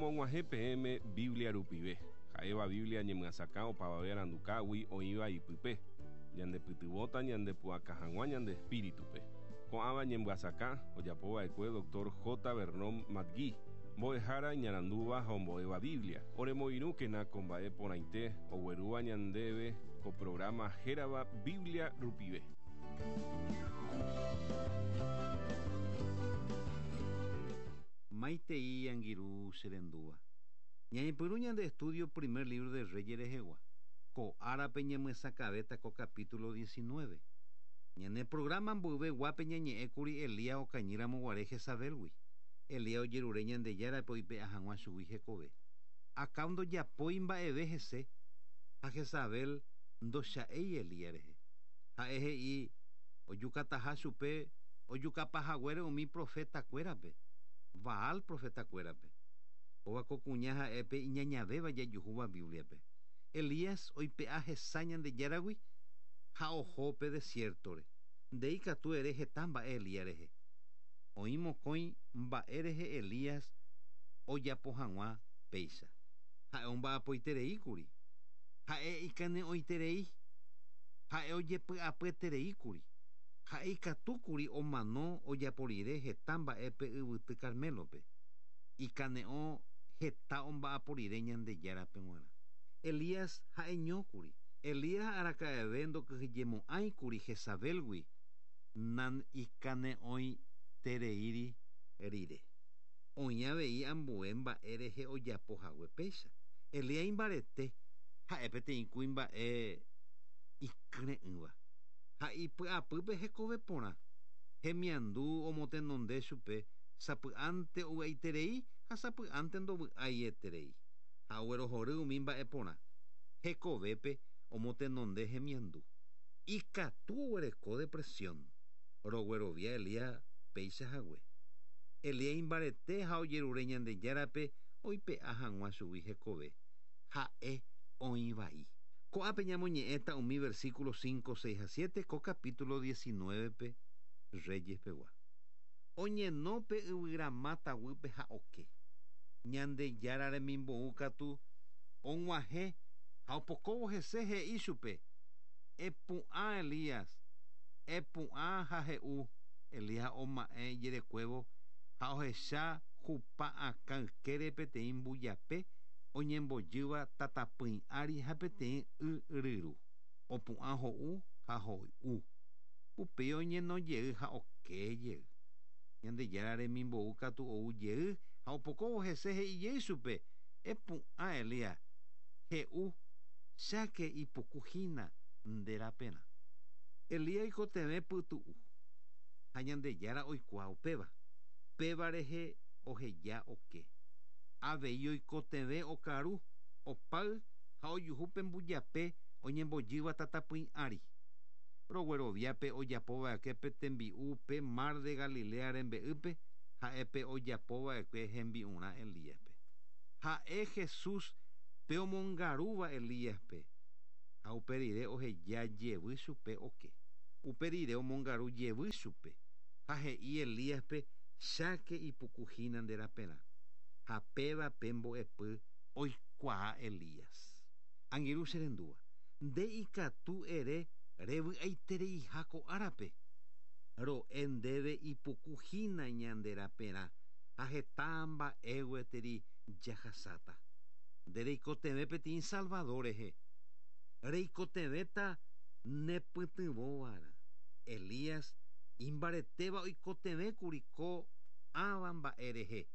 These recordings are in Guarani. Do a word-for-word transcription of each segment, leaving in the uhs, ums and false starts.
Romog̃uahẽ peẽme Biblia rupive. Ha'éva Biblia ñemyasakã opavave arandukágui oĩva ipype. Ñandepytyvõta ñandepu'aka hag̃ua ñande espíritupe. Ko'ãva ñemyasakã ojapova'ekue doctor J. Vernon McGee, mbo'ehára iñarandúva ha ombo'éva Biblia. Oremoirũkena ko mba'e porãite oguerúva ñandéve ko programa hérava Biblia rupive. Maitei angirũ cherendúva. Ñañepyrũ ñande estudio primer libro de Reyes rehegua. Ko árape ñamyesakãvéta ko capítulo diecinueve. Ñane programa mboyveguápe ñañe'ẽkuri Elías okañýramoguare Jezabelgui. Elías ojerure Ñandejárape oipe'a hag̃ua chugui hekove. Acab ndojapói mba'eve hese ha Jezabel ndocha'éi Elías rehe. Ha'e he'i ojukataha chupe ojukapahaguére umi profetakuérape, Baal profetakuérape. Kóva ko kuña ha'épe iñañavéva jajuhúva Bibliape. Elías oipe'a hesa Ñandejáragui ha oho pe desiertore. Ndéi katu ere heta mba'e Elías rehe. Oĩ mokõi mba'e rehe Elías ojapo hag̃ua péicha. Ha'e omba'apoitereíkuri. Ha'e ikane'õiterei. Ha'e ojepy'apyetereíkuri. Ha'e ikatúkuri omano ojapo rire heta mba'épe yvyty Carmelope. Ikane'õ heta omba'apo rire Ñandejárape g̃uarã. Elías ha'eñókuri. Elías araka'eve ndokyhyjemo'ãikuri Jezabelgui nan ikane'õitereíri rire. Oĩ avei ambue mba'e rehe ojapo hague péicha. Elías imbarete ha'e peteĩ kuimba'e ikyre'ỹva. Ha ipy'apýpe hekove porã. Hemiandu omotenonde chupe sapy'ánte ovy'aiterei ha sapy'ánte ndovy'aieterei. Ha oguerohory umi mba'e porã. Hekovépe omotenonde hemiandu. Ikatu oguereko depresión. Roguerovia Elías péicha hague. Elías imbarete ha ojerure Ñandejárape oipe'a hag̃ua chugui hekove. Ha'e oĩ vai. Ko'ápe ñamoñe'ẽta umi versículo cinco, seis ha siete ko capítulo diecinueve-pe Reyes pegua. Oñeno pe yvyramáta guýpe ha oke. Ñandejára remimbo'u katu og̃uahẽ ha opokóvo hese he'i chupe. Epu'ã Elías, epu'ã ha he'u. Elías oma'ẽ ijerekuévo ha ohecha hupa akã ykére peteĩ mbujape oñembojýva tatapỹi ári ha peteĩ y ryru. Opu'ã ho'u ha hoy'u. Upéi oñeno jey ha oke jey. Ñandejára remimbo'u katu ou jey ha opokóvo hese he'i jey chupe. Epu'ã Elías, he'u cháke ipukuhína nde raperã. Elías oikotevẽ pytu'u ha Ñandejára oikuaa upéva. Péva rehe oheja oke. Avei oikotevẽ okaru, opáy ha ojuhu pe mbujape oñembojýva tatapỹi ári. Rogueroviápe ojapova'ekue pe tembi'u pe mar de Galilea rembe'ýpe ha'épe ojapova'ekue hembi'urã Elíaspe. Ha'e Jesús pe omongarúva Elíaspe ha upe rire oheja jevy chupe oke. Upe rire omongaru jevy chupe ha he'i Elíaspe cháke ipukuhína nde raperã. Ha péva pe mbo'epy oikuaa Elías. Angirũ cherendúva. Nde ikatu ere revy'aitereiha ko árape. Ro'e ndéve ipukuhína ñande raperã ha heta mba'e gueteri jahasáta. Nde reikotevẽ peteĩ Salvador rehe. Reikotevẽta nepytyvõva'erã. Elías imbaretéva oikotevẽkuri ko ãva mba'e rehe.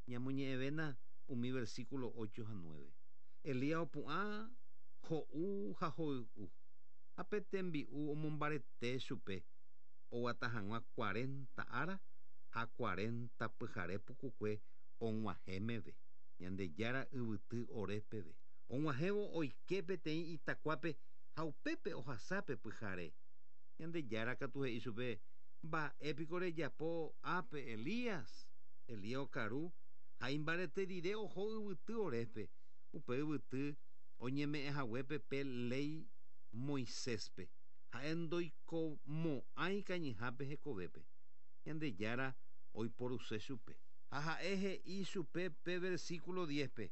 Ñamoñe'ẽvéna umi versículo ocho ha nueve. Elías opu'ã ho'u ha hoy'u. Ha pe tembi'u omombarete chupe oguata hag̃ua cuarenta ára ha cuarenta pyhare pukukue og̃uahẽ meve. Ñandejára yvyty Horeb peve. Og̃uahẽvo oike peteĩ itakuápe ha upépe ohasápe pyhare. Ñandejára katu he'i chupe mba'épiko rejapo ápe Elías. Elías okaru ha imbarete rire oho yvyty Horébpe. Upe yvyty oñeme'ẽhaguépe pe léi Moiséspe. Ha'e ndoikomo'ãi kañyhápe hekovépe. Ñandejára oiporuse chupe. Ha ha'e he'i chupe pe versículo diez-pe.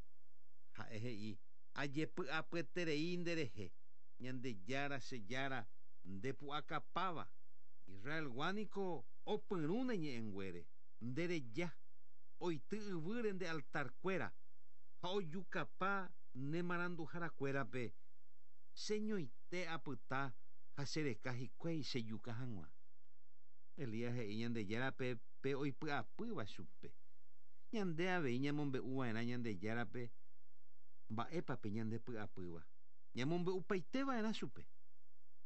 Ha'e he'i ajepy'apyeterei nderehe. Ñandejára che Jára ndepu'akapáva. Israelgua niko opyrũ ne ñe'ẽnguére. Ndereja oity yvýre nde altarkuéra ha ojukapa ne maranduharakuérape. Cheñoite apyta ha chereka hikuái chejuka hag̃ua. Elías he'i Ñandejárape pe oipy'apýva chupe. Ñande avei ñamombe'uva'erã Ñandejárape mba'épape ñandepy'apýva. Ñamombe'upaiteva'erã chupe.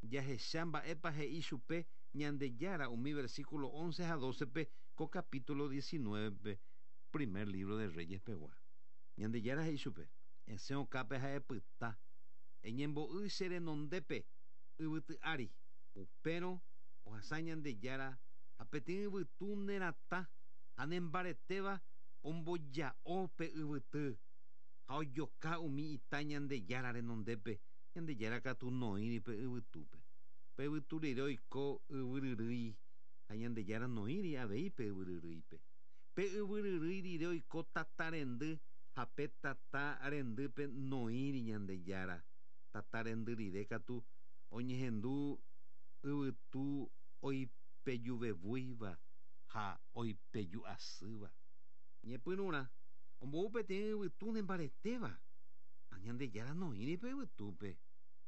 Jahecha mba'épa he'i chupe Ñandejára umi versículo once ha doce-pe ko capítulo diecinueve-pe primer libro de Reyes pegua. Ñandejára he'i chupe esẽ okápe ha'e pyta eñembo'y che renondépe yvyty ári. Upérõ ohasa Ñandejára ha peteĩ yvytu neratã ha nembaretéva omboja'o pe yvyty ha ojoka umi ita Ñandejára renondépe. Ñandejára katu noĩri pe yvytúpe. Pe yvytu rire oiko yvyryrýi ha Ñandejára noĩri avei pe yvyryrýipe. Pe yvyryrýi rire oiko tata rendy ha pe tata rendýpe noĩri Ñandejára. Tata rendy rire katu oñehendu yvytu oipejuvevúiva ha oipeju'asýva. Ñepyrũrã ombou peteĩ yvytu nembaretéva ha Ñandejára noĩri pe yvytúpe.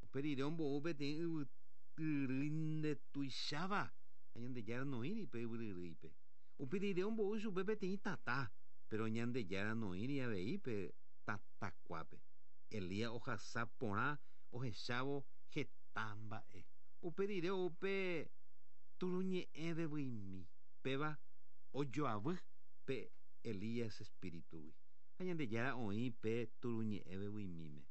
Upe rire ombou peteĩ yvytyrýi ndetuicháva ha Ñandejára noĩri pe yvyryrýipe. Upe rire ombou chupe peteĩ tata, pero Ñandejára noĩri avei pe tatakuápe. Elías ohasa porã ohechávo heta mba'e. Upe rire upe turuñe'ẽ vevyimi péva ojoavy pe Elías espíritugui. Ha Ñandejára oĩ pe turuñe'ẽ vevyimíme.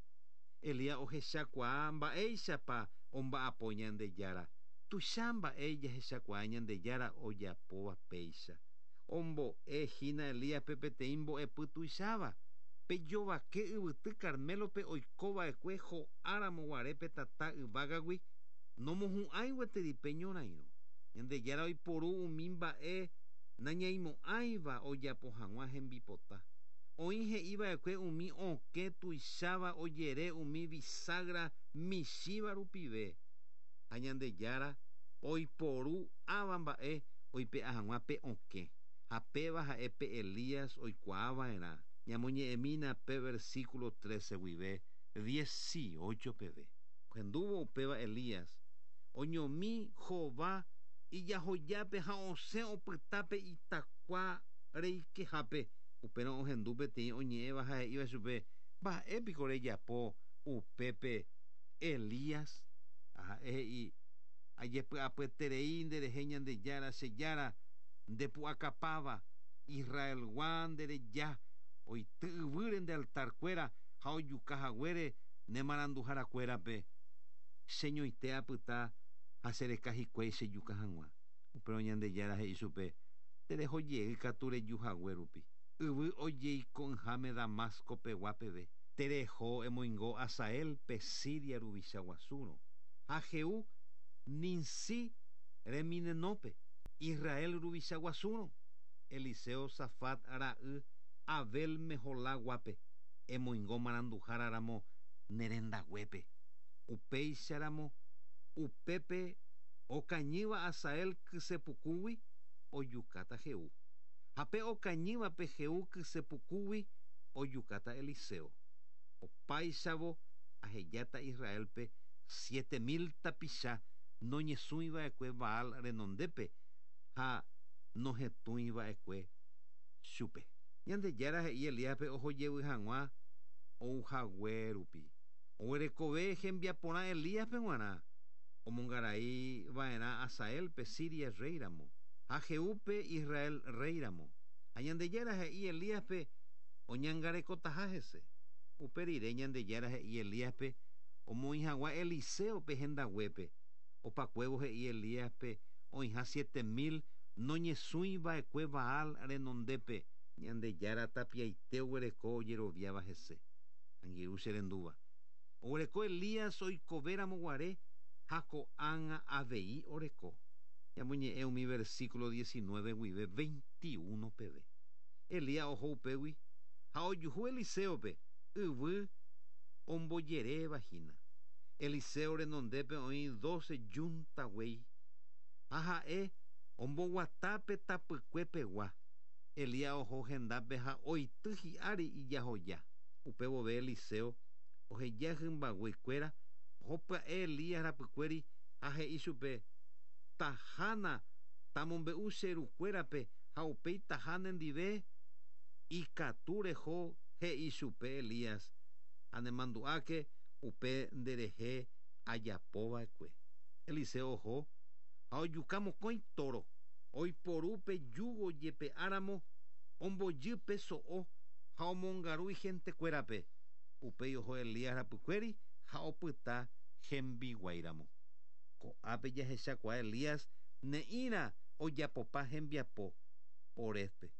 Elías ohechakuaa mba'éichapa omba'apo Ñandejára. Tuicha mba'e jahechakuaa Ñandejára ojapóva péicha. Ombo'e hína Elíaspe peteĩ mbo'epy tuicháva. Pe jovake yvyty Carmelope oikova'ekue ho'áramo guare pe tata yvágagui nomohu'ãi gueteri pe ñorairõ. Ñandejára oiporu umi mba'e nañaimo'ãiva ojapo hag̃ua hembipota. Oĩ he'iva'ekue umi okẽ tuicháva ojere umi bisagra michĩva rupive. Ha Ñandejára oiporu ãva mba'e oipe'a hag̃ua pe okẽ. Ha péva ha'e pe Elías oikuaava'erã. Ñamoñe'ẽmína pe versículo trece guive dieciocho peve. Ohendúvo upéva Elías oñomi hova ijahojápe ha osẽ opytápe itakua reikehápe. Upérõ ohendu peteĩ oñe'ẽva ha he'íva chupe mba'épiko rejapo upépe Elías. Ha'e he'i ajepy'apyeterei nderehe Ñandejára che Jára ndepu'akapáva Israelgua ndereja oity yvýre nde altarkuéra ha ojuka haguére ne maranduharakuérape. Cheñoite apyta ha chereka hikuái chejuka hag̃ua. Upérõ Ñandejára he'i chupe tereho jey katu reju hague rupi. Yvy ojeiko'ỹháme Damasco pegua peve. Tereho emoingo Hazael pe Siria ruvicha guasúrõ. Ha Jehú Ninsi reminenópe Israel ruvicha guasúrõ. Eliseo Safat ra'y Abel Mehola guápe emoingo maranduháraramo nerendaguépe. Upéicharamo upépe okañýva Hazael kysepukúgui ojukáta Jehú. Ha pe okañývape Jehú kysepukúgui ojukáta Eliseo. Opáichavo ahejáta Israelpe siete mil tapicha noñesũiva'ekue Baal renondépe ha nohetũiva'ekue chupe. Ñandejára he'i Elíaspe ohojevy hag̃ua ouhague rupi. Oguerekove hembiaporã Elíaspe g̃uarã omongaraiva'erã Hazaelpe Siria rréiramo ha Jehúpe Israel rréiramo. Ha Ñandejára he'i Elíaspe oñangarekotaha hese. Upe rire Ñandejára he'i Elíaspe omoĩ hag̃ua Eliseope hendaguépe. Opakuévo he'i Elíaspe oĩha siete mil noñesũiva'ekue Baal renondépe. Ñandejára tapiaite oguereko ojeroviáva hese. Angirũ che rendúva. Oguereko Elías oikovéramo guare ha ko'ág̃a avei oreko. Ñamoñe'ẽ umi versículo diecinueve guive veintiuno peve. Elías oho upégui ha ojuhu Eliseope yvy ombojeréva hína. Eliseo renondépe oĩ doce yunta guéi ha ha'e omboguatápe tapykuepegua. Elías oho hendápe ha oity hi'ári ijahoja. Upévove Eliseo oheja hymbaguekuéra oho pya'e Elías rapykuéri ha he'i chupe tahána tamombe'u che rukuérape ha upéi taha nendive ikatu reho he'i chupe Elías ha nemandu'áke upe nderehe ajapova'ekue. Eliseo oho ha ojuka mokõi toro oiporu pe yugo jepe'áramo ombojy pe so'o ha omongaru igentekuérape. Upéi oho Elías rapykuéri ha opyta hembiguáiramo. Ko'ápe jahechakuaa Elías ne'ĩra ojapopa hembiapo Orépe.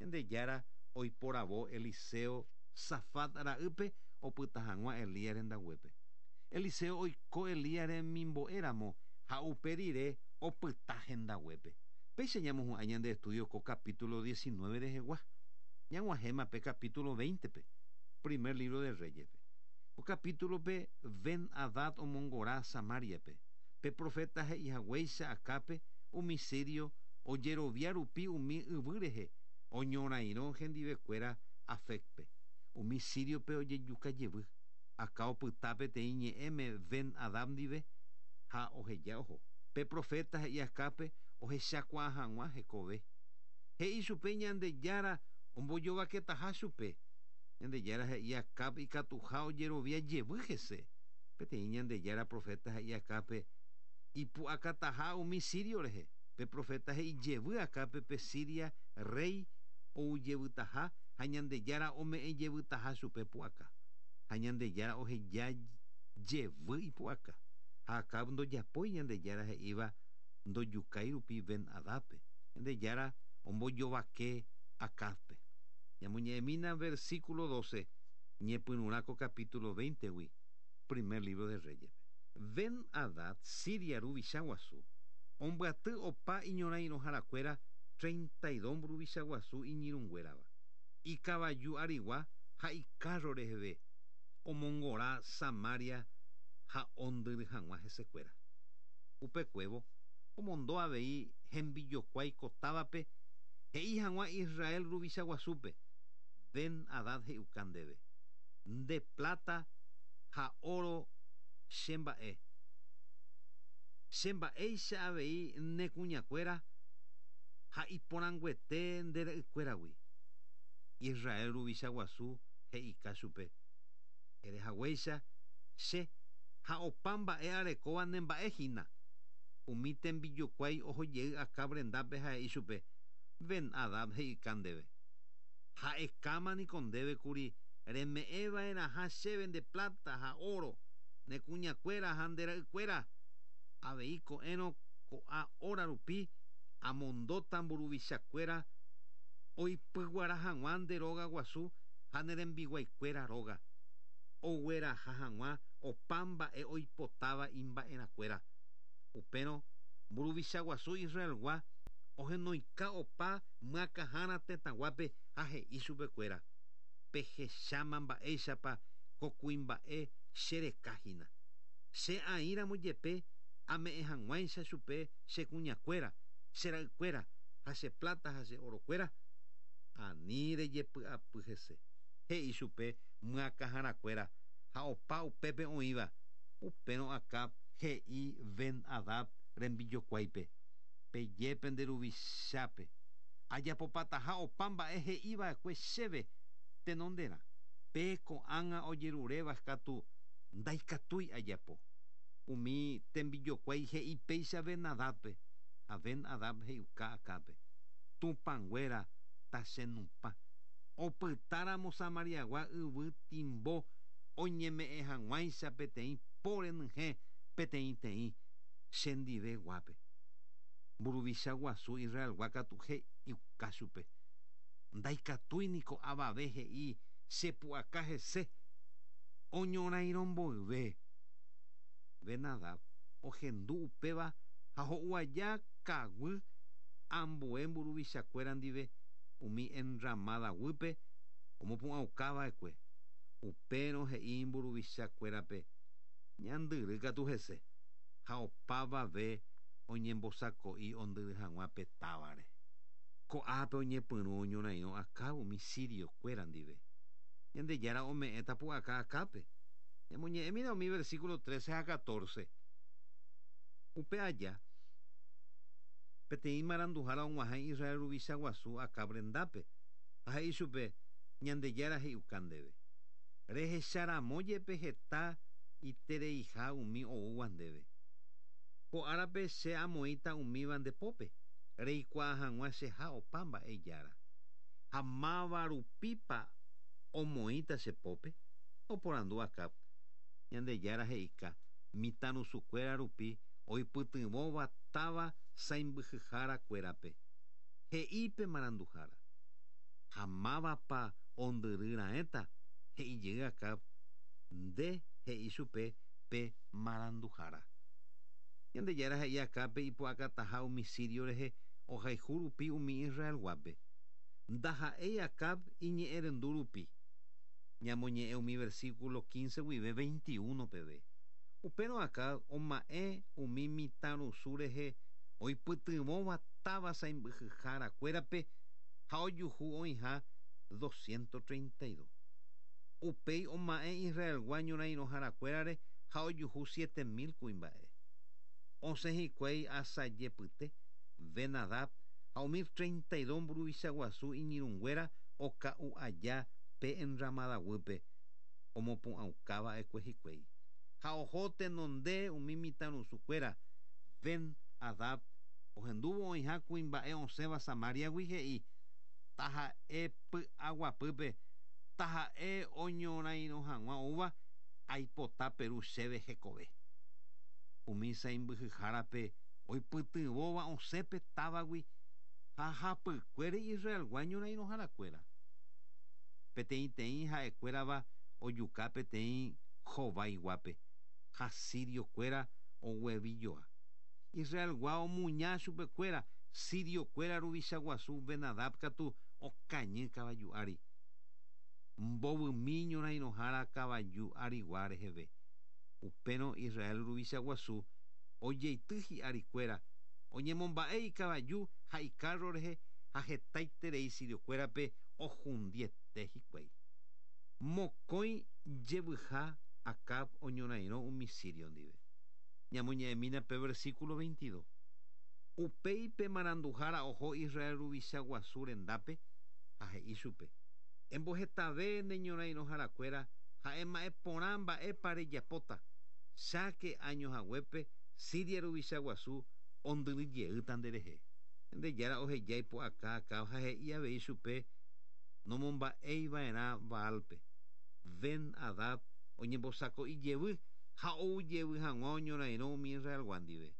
Ñandejára oiporavo Eliseo Safat ra'ýpe opyta hag̃ua Elías rendaguépe. Eliseo oiko Elías remimbo'éramo ha upe rire opyta hendaguépe. Péicha ñamohu'ã ñande estudio ko capítulo diecinueve rehegua. Ñag̃uahẽma pe capítulo veinte-pe, primer libro de Reyes-pe. Ko capítulo-pe Ben-Hadad omongora Samaria-pe. Pe profeta he'ihaguéicha Acápe umi sirio ojerovia rupi umi yvy rehe oñorairõ hendivekuéra Afecpe. Umi siriope ojejuka jevy. Acá opyta peteĩ ñe'ẽme Ben-Hadad ndive ha oheja oho. Pe profeta he'i Acápe ohechakuaa hag̃ua hekove. He'i chupe Ñandejára ombojovaketaha chupe. Ñandejára he'i Acápe ikatuha ojerovia jevy hese. Peteĩ Ñandejára profeta he'i Acápe ipu'akataha umi sirio rehe. Pe profeta he'i jevy Acápe pe Siria rey oujevytaha ha Ñandejára ome'ẽ jevytaha chupe pu'aka. Ha Ñandejára oheja jevy ipu'aka. Ha Acab ndojapói Ñandejára he'íva ndojukái rupi Ben-Hadadpe. Ñandejára ombojovake Acabpe. Ñamoñe'ẽmína versículo doce, ñepyrũrã ko capítulo veinte-gui, primer libro de Reyes. Ben-Hadad, Siria ruvicha guasu, ombyaty opa iñorairõharakuéra treinta y dos mburuvicha guasu iñirũnguérava. Ikavaju arigua ha ikárro reheve omongora Samaria ha ondyry hag̃ua hesekuéra. Upekuévo omondo avei hembijokuái kotávape he'i hag̃ua Israel ruvicha guasúpe Ben-Hadad he'iuka ndéve nde plata ha oro che mba'e. Che mba'éicha avei ne kuñakuéra ha iporãnguete nde ra'ykuéragui. Israel ruvicha guasu he'ika chupe erehaguéicha che ha opa mba'e arekóva ne mba'e hína. Umi tembijokuái ohojey Acab rendápe ha he'i chupe Ben-Hadad he'ika ndéve. Ha'ekáma niko ndéve kuri reme'ẽva'erãha chéve nde plata ha oro ne kuñakuéra ha nde ra'ykuéra. Avei ko'ẽrõ ko'ã hora rupi amondóta mburuvichakuéra oipyguara hag̃ua nde róga guasu ha ne rembiguaikuéra róga. Ogueraha hag̃ua opa mba'e oipotáva imba'erãkuéra. Upérõ mburuvicha guasu Israelgua ohenoika opa myakãhára tetãguápe ha he'i chupekuéra pehecháma mba'éichapa ko kuimba'e cherekahína. Che aĩramo jepe ame'ẽ hag̃uáicha chupe che kuñakuéra, che ra'ykuéra ha che plata ha che orokuéra ani rejepy'apy hese. He'i chupe myakãharakuéra ha opa upépe oĩva. Upérõ Acab he'i Ben-Hadad rembijokuáipe peje nde ruvichápe ajapopataha opa mba'e he'iva'ekue chéve tenonderã. Pe ko'ág̃a ojeruréva katu ndaikatúi ajapo. Umi tembijokuái he'i péicha Ben-Hadadpe ha Ben-Hadad he'iuka Acápe Tupãnguéra tachenupã. Opytáramo Samariagua yvy timbo oñeme'ẽ hag̃uáicha peteĩ po renyhẽ peteĩteĩ chendive guápe. Mburuvicha guasu Israelgua katu he'iuka chupe. Ndaikatúi niko avave he'i chepu'aka hese oñorairõmboyve. Ben-Hadad ohendu upéva ha ho'u aja kaguy ambue mburuvichakuéra ndive umi enramada guýpe omopu'ãukava'ekue. Upérõ he'i mburuvichakuérape ñandyry katu hese ha opavave oñembosako'i ondyry hag̃ua pe távare. Ko'ápe oñepyrũ oñorairõ Acab umi siriokuéra ndive. Ñandejára ome'ẽta pu'aka Acápe. Ñamoñe'ẽmína umi versículo trece ha catorce. Upe aja peteĩ maranduhára og̃uahẽ Israel ruvicha guasu Acab rendápe ha he'i chupe Ñandejára he'iuka ndéve. Rehecharamo jepe heta itereiha umi oúva ndéve. Ko árape che amoĩta umíva nde pópe, reikuaa hag̃ua cheha opa mba'e jára. Ha máva rupípa omoĩta che pópe, oporandu Acab. Ñandejára he'ika mitãrusukuéra rupi oipytyvõva táva sãimbyhyhárakuérape. He'i pe maranduhára. Ha mávapa ondyryraẽta he'ijey Acab nde he'i chupe pe maranduhára. Ñandejára he'i Acápe ipu'akataha umi sirio rehe ohayhu rupi umi Israelguápe. Ndaha'éi Acab iñe'ẽrendu rupi. Ñamoñe'ẽ umi versículo quince guive veintiuno peve. Upérõ Acab oma'ẽ umi mitãrusu rehe oipytyvõva táva sãimbyhyhárakuérape ha ojuhu oĩha doscientos treinta y dos. Upéi oma'ẽ Israelgua ñorairõharakuérare ha ojuhu siete mil kuimba'e. Osẽ hikuái asajepyte Ben-Hadad ha umi treinta y dos mburuvicha guasu iñirũnguéra oka'u aja pe enramada guýpe omopu'ãukava'ekue hikuái. Ha oho tenonde umi mitãrusukuéra Ben-Hadad ohendúvo oĩha kuimba'e osẽva Samariagui he'i taha'e py'aguapýpe taha'e oñorairõ hag̃ua oúva aipota peru chéve hekove. Umi sãimbyhyhárape oipytyvõva osẽpe távagui ha hapykuére Israelgua ñorairõharakuéra. Peteĩteĩ ha'ekuérava ojuka peteĩ hovaiguápe ha siriokuéra oguevijoa. Israelgua omuña chupekuéra siriokuéra ruvicha guasu Ben-Hadad katu okañy kavaju ári. Mbovymi ñorairõhára kavaju arigua reheve. Upérõ Israel ruvicha guasu ojeity hi'arikuéra oñemomba'e ikavaju ha ikárro rehe ha hetaiterei siriokuérape ohundiete hikuái. Mokõi jevyha Acab oñorairõ umi sirio ndive. Ñamoñe'ẽmína pe versículo veintidós. Upéi pe maranduhára oho Israel ruvicha guasu rendápe ha he'i chupe. Embohetave ne ñorairõharakuéra ha'e mba'e porã mba'épa rejapóta. Cháke año haguépe Siria ruvicha guasu ondyryjeýta nderehe. Ñandejára oheja ipu'aka Acab ha he'i avei chupe nomomba'eiva'erã Baalpe. Ben-Hadad oñembosako'i jevy ha ou jevy hag̃ua oñorairõ umi Israelgua ndive.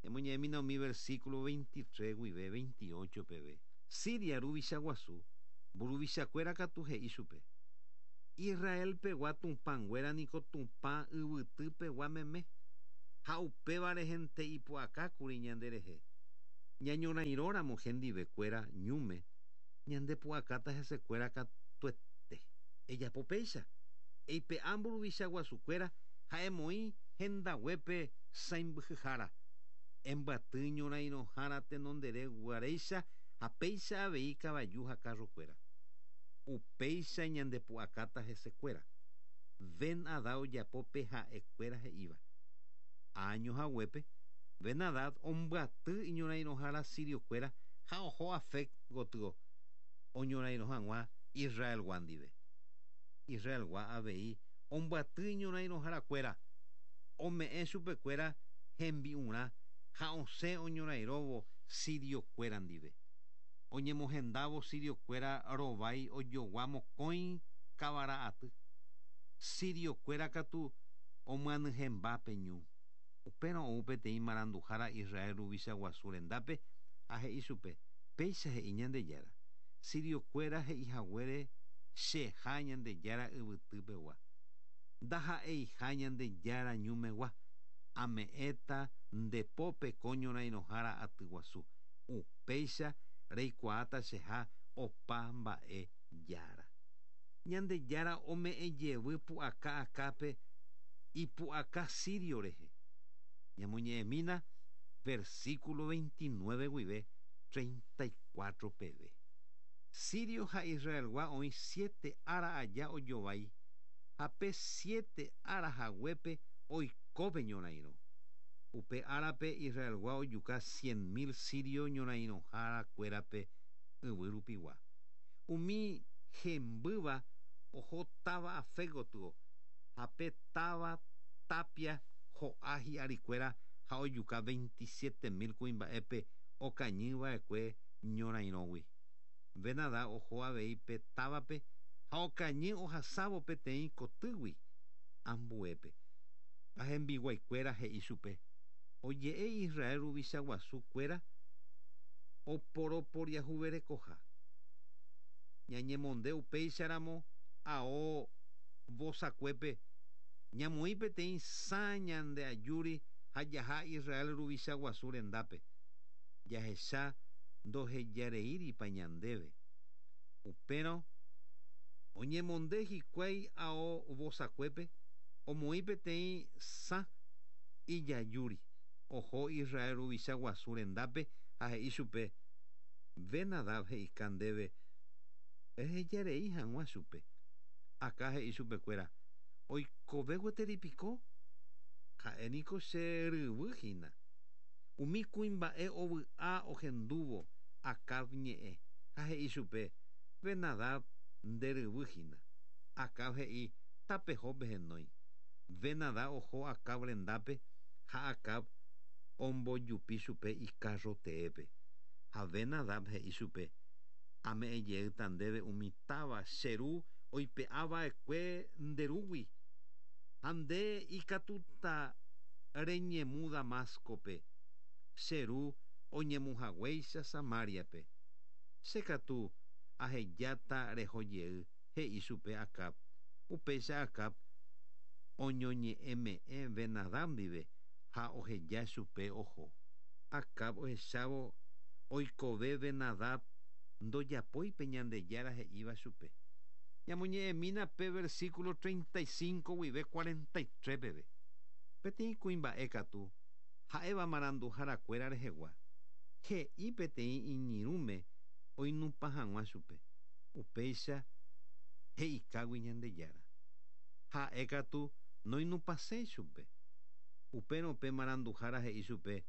Ñamoñe'ẽmína umi versículo veintitrés guive veintiocho peve. Siria ruvicha guasu mburuvichakuéra katu he'i chupe. Israelpegua tupãnguéra niko tupã yvytypegua meme ha upéva rehente ipu'akákuri ñanderehe. Ñañorairõramo hendivekuéra ñúme ñandepu'akáta hesekuéra katuete. Ejapo péicha eipe'a mburuvicha guasukuéra ha emoĩ hendaguépe sãimbyhyhára. Embyaty ñorairõhára tenondere guaréicha ha péicha avei kavaju ha karrokuéra. Upéicha ñandepu'akáta hesekuéra. Ben-Hadad ojapo pe ha'ekuéra he'íva. Año haguépe Ben-Hadad ombyaty iñorairõhára siriokuéra ha oho Afec gotyo oñorairõ hag̃ua Israelgua ndive. Israelgua avei ombyaty iñorairõharakuéra ome'ẽ chupekuéra hembi'urã ha osẽ oñorairõvo siriokuéra ndive. Oñemohendávo siriokuéra rovái ojogua mokõi kavara aty. Siriokuéra katu omyanyhẽmba pe ñu. Upérõ ou peteĩ maranduhára Israel ruvicha guasu rendápe ha he'i chupe péicha he'i Ñandejára. Siriokuéra he'ihaguére cheha Ñandejára yvytypegua. Ndaha'eiha Ñandejára ñumegua. Ame'ẽta nde pópe ko ñorairõhára aty guasu. Upéicha reikuaáta cheha Opa mba'e jára. Ñandejára ome'ẽ jevy pu'aka Acábpe ipu'aka sirio rehe. Ñamoñe'ẽmína versículo veintinueve guive treinta y cuatro peve. Sirio ha Israelgua oĩ siete ára aja ojovái ha pe siete ára haguépe oikópe ñorairõ. Upe árape Israelgua ojuka cien mil sirio ñorairõharakuérape yvy rupigua. Umi hembýva oho táva Afec gotyo ha pe táva tapia ho'a hi'arikuéra ha ojuka veintisiete mil kuimba'épe okañyva'ekue ñorairõgui. Ben-Hadad oho avei pe távape ha okañy ohasávo peteĩ kotýgui ambuépe. Ha hembiguaikuéra he'i chupe oje'e Israel ruvicha guasukuéra oporoporiahuverekoha. Ñañemonde upéicharamo ao vosakuépe ñamoĩ peteĩ sã ñande ajúri ha jaha Israel ruvicha guasu rendápe. Jahecha ndohejareíripa ñandéve. Upérõ oñemonde hikuái ao vosakuépe omoĩ peteĩ sã ijajúri. Oho Israel ruvicha guasu rendápe ha he'i chupe Ben-Hadad he'ika ndéve ehejarei hag̃ua chupe. Acá he'i chupekuéra oikove gueteri piko ha'éniko che ryvy hína. Umi kuimba'e ovy'a ohendúvo Acab ñe'ẽ ha he'i chupe Ben-Hadad nde ryvy hína. Acab he'i tapeho pehenói. Ben-Hadad oho Acab rendápe ha Acab ombojupi chupe ikarro teépe. Ha Ben-Hadad he'i chupe ame'ẽ jeýta ndéve umi táva che ru oipe'ava'ekue nderúgui ha nde ikatúta reñemu Damascope che ru oñemuhaguéicha Samariape. Che katu ahejáta reho jey he'i chupe Acab. Upéicha Acab oñoñe'ẽme'ẽ Ben-Hadad ndive ha oheja chupe oho. Acab ohechávo oikove Ben-Hadad ndojapói pe Ñandejára he'íva chupe. Ñamoñe'ẽmína pe versículo treinta y cinco guive cuarenta y tres peve. Peteĩ kuimba'e katu ha'éva maranduharakuéra rehegua. He'i peteĩ iñirũme oinupã hag̃ua chupe. Upéicha he'ikágui Ñandejára. Ha'e katu noinupãséi chupe. Upérõ pe maranduhára he'i chupe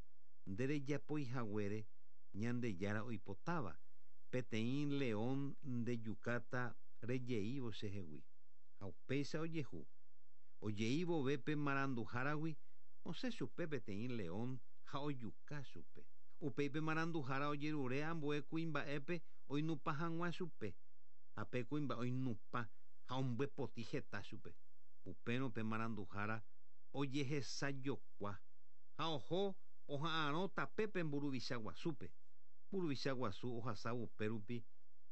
nderejapói haguére Ñandejára oipotáva. Peteĩ león ndejukáta rejeívo chehegui. Ha upéicha ojehu. Ojeívove pe maranduháragui osẽ chupe peteĩ león ha ojuka chupe. Upéi pe maranduhára ojerure ambue kuimba'épe oinupã hag̃ua chupe. Ha pe kuimba'e oinupã ha ombyepoti heta chupe. Upérõ pe maranduhára ojehesajokua ha oho oha'arõ tapépe mburuvicha guasúpe. Mburuvicha guasu ohasávo upérupi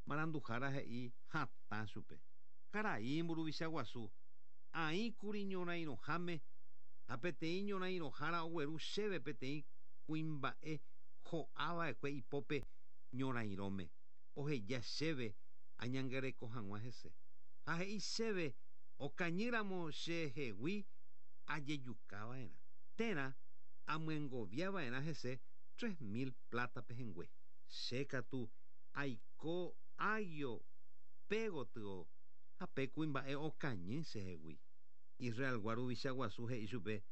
maranduhára he'i hatã chupe. Karai mburuvicha guasu aĩkuri ñorairõháme ha peteĩ ñorairõhára ogueru chéve peteĩ kuimba'e ho'ava'ekue ipópe ñorairõme oheja chéve añangareko hag̃ua hese. Ha he'i chéve okañýramo chehegui ajejukava'erã. Térã amyengoviava'erã hese tres mil plata pehẽngue. Che katu aiko águio pégotyo ha pe kuimba'e okañy chehegui. Israelgua ruvicha guasu he'i chupe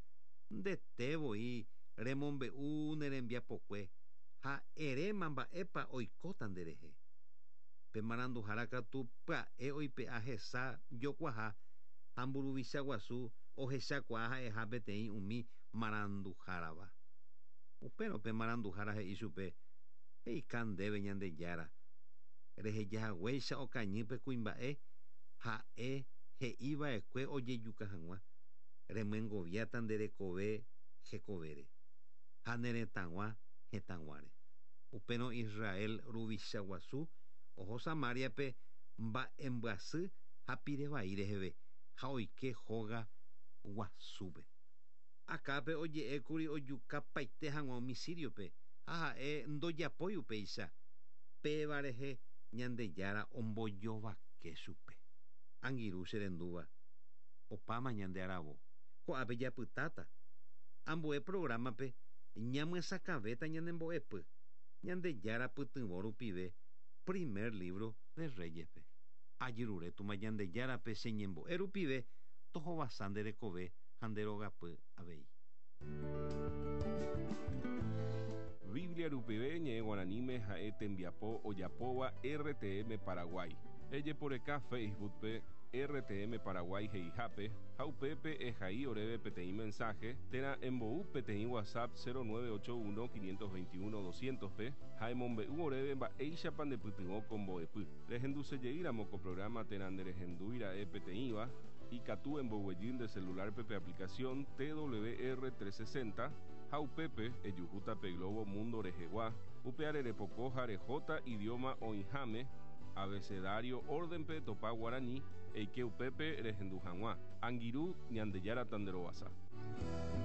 ndete voi remombe'u ne rembiapokue ha eréma mba'épa oikóta nderehe. Pe maranduhára katu pya'e oipe'a hesa jokuaha ha mburuvicha guasu ohechakuaa ha'eha peteĩ umi maranduhárava. Upérõ pe maranduhára he'i chupe he'ika ndéve Ñandejára rehejahaguéicha okañy pe kuimba'e ha'e he'iva'ekue ojejuka hag̃ua remyengoviáta nde rekove hekovére ha ne retãgua hetãguáre. Upérõ Israel ruvicha guasu oho Samariape mba'embyasy ha pirevai reheve ha oike hóga guasúpe. Acápe oje'ékuri ojukapaite hag̃ua umi síriope ha ha'e ndojapói upéicha. Péva rehe Ñandejára ombojovake chupe. Angirũ cherendúva opáma ñande aravo. Ko'ápe japytáta. Ambue programa-pe ñamyesakãvéta ñanembo'epy. Ñandejára pytyvõ rupive primer libro de Reyes-pe. Ajerure Tupã Ñandejárape che ñembo'e rupive tohovasa nde rekove ha nde rogapy avei. Biblia rupive ñe'ẽ guaraníme ha'e tembiapo ojapóva R T M Paraguay. Ejeporeka Facebook-pe R T M Paraguay he'ihápe ha upépe ehai oréve peteĩ mensaje térã embou peteĩ WhatsApp cero nueve ocho uno quinientos veintiuno doscientos-pe ha emombe'u oréve mba'éichapa ndepytyvõ ko mbo'epy. Rehendusejeýramo ko programa térã nderehendúira'e peteĩva, ikatu emboguejy nde celular-pe pe aplicación T W R trescientos sesenta ha upépe ejuhúta pe globo mundo rehegua, upe repoko ha rehóta idioma oĩháme abecedario orden-pe topa guaraní eike upépe rehendu hag̃ua. Angirũ, Ñandejára tanderovasa.